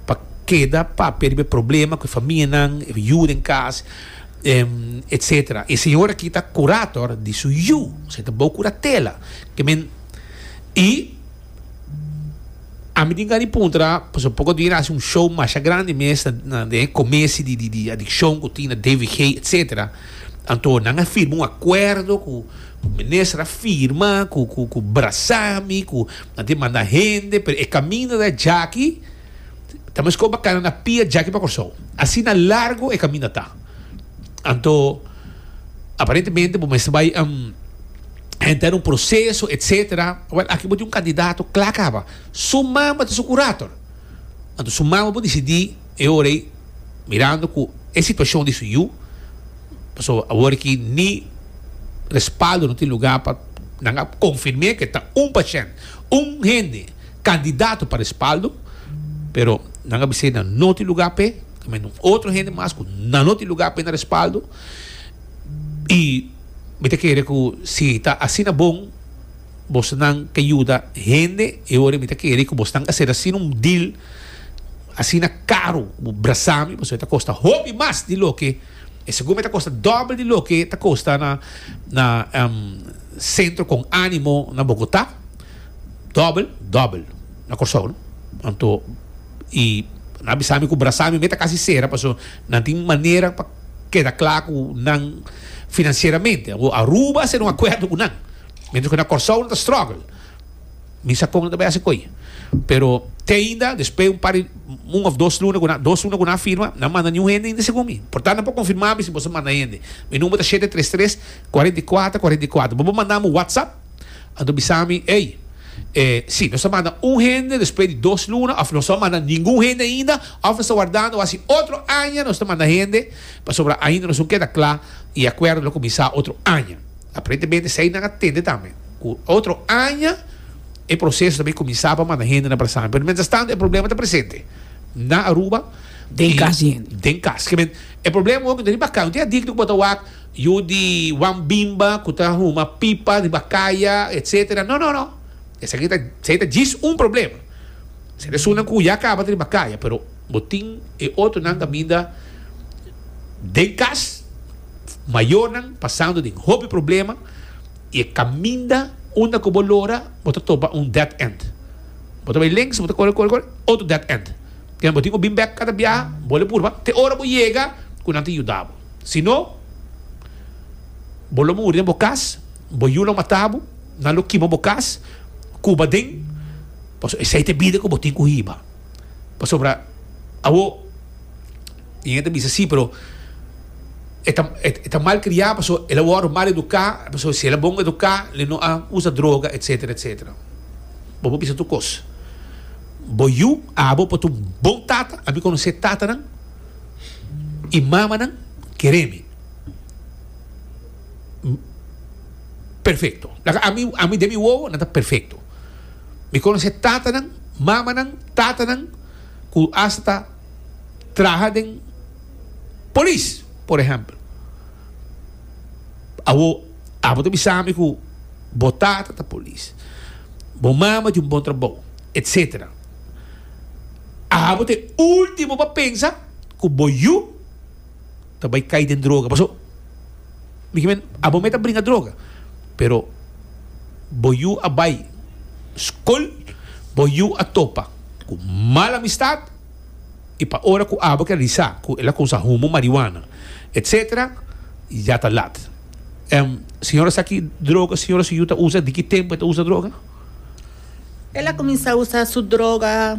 pa keda papia riba e problema ku e famianan, e yu den kas, etsetera. E señor aki ta kurator di su yu, osea ta bou kuratela. Ke men i ami tin gana di puntra, pasobra poko dia nan hasi un show masha grandi mes na den e komesi di di adikshon ku tin na DVG, etsetera. Anto nan a firma un akuerdo ku Minister a firma ku ku ku brasami ku nan tin manda hende pero e kaminda ta djaki ta meskos bo kana na pia djaki pa Kòrsou asina largo e kaminda ta anto aparentemente bo mester bai henter un proseso etcetera wèl aki bo tin un kandidato kla kaba su mama ta su kurator anto su mama por disidí e ora ei mirando ku e situashon di su yu. Pasobra awor aki ni respaldo no tin lugar pa nan a confirm'é ke ta un pashènt, un hende kandidato pa respaldo, pero nan a bis'é nan no tin lugar p'e, tamen un otro hende mas ku nan no tin lugar p'e na respaldo i mi ta kere ku si ta asina bon bosonan ke yuda hende e ora mi ta kere ku bosnan a sera asina un deal asina karu ku bo brasami pasobra e ta kosta hopi mas di loke E segun mi ta kosta dòbel di loke ta kosta na na Centro Con Animo na Bogotá. Dòbel, dòbel na Kòrsou no. Anto i Nan a bisa mi ku Brasami meta kasi sera paso nan tin manera pa keda kla ku nan finansieramente. Awor Aruba a sera un akuerdo ku nan, mientras ku na Kòrsou nan ta struggle. Mi sa kon nan ta bai hasi koi. Pero te ainda despues un par di un òf dos luna ku nan dos luna ku nan a firma, nan manda niun hende ainda segun mi. Por tanto nan por konfirma mi si boso manda hende. Mi number ta shete tres tres, kuarenta i kuater, kuarenta i kuater. Bo por manda mi WhatsApp anto bisa mi, ey, e si nos a manda un hende despues di dos luna òf nos no a manda ningun hende ainda òf nos ta wardando hasi otro aña nos ta manda hende pasobra ainda nos no keda kla i e akuerdo lo kuminsá otro aña. Aparentemente esei nan a tende tambe ku otro aña e proseso ta bay kuminsá pa manda hende na Brasami. Pero mientras tanto e problema ta presente na Aruba. Den kas di hende. Den kas. Ke men e problema hopi ta riba kaya. Un tin adikto ku bo ta wak yu di wan bimba ku ta huma pipa riba kaya etsetera. No no no. Esaki ta esei ta djis un problema. Esei ta esunnan ku ya kaba ta riba kaya pero bo tin e otronan kaminda den kas. Mayornan pasando den hopi problema y e caminda unda cu bo lora bo ta topa un dead end. Bo ta bay links, bo ta core core core, otro dead end. Kende bo tin cu bin bek cada biaha, bo lo purba te ora bo yega cu nan ta yuda bo. Si no, bo lo muri den bo cas, bo yu lo mata bo, nan lo kima bo cas, cuba den, pasobra esey ta e bida cu bo tin cu hiba. Pasobra awo. Y hende ta bisa si, pero e ta e ta mal criá pasobra el a wòrdu mal eduká, pasobra si el a bon eduká le no a usa droga etcetera etcetera. Bo por bisa tur kos. Bo yu, abo por ta un bon tata, ami konosé tatanan y mamanan kere mi perfecto. Laga ami ami den mi wowo nan ta perfecto. Mi konosé tatanan, mamanan, tatanan ku asta ta. traha den polis, por ehempel. Awo, abo ta bisa mi ku bo tata ta polis, bo mama tin un bon trabou, etcetera. Abo ta e ultimo pa pensa ku bo yu ta bai kai den droga. Paso, mi ke men, abo me ta bringa droga, pero bo yu a bai skol, bo yu a topa ku mal amistad, i pa ora ku abo ke realisá ku el a kumsa humo marihuana etcetera ya ta lat. Em, señora sa ki droga señora su yu ta usa? Di ki tempu e ta usa droga? El a kuminsá usa su droga.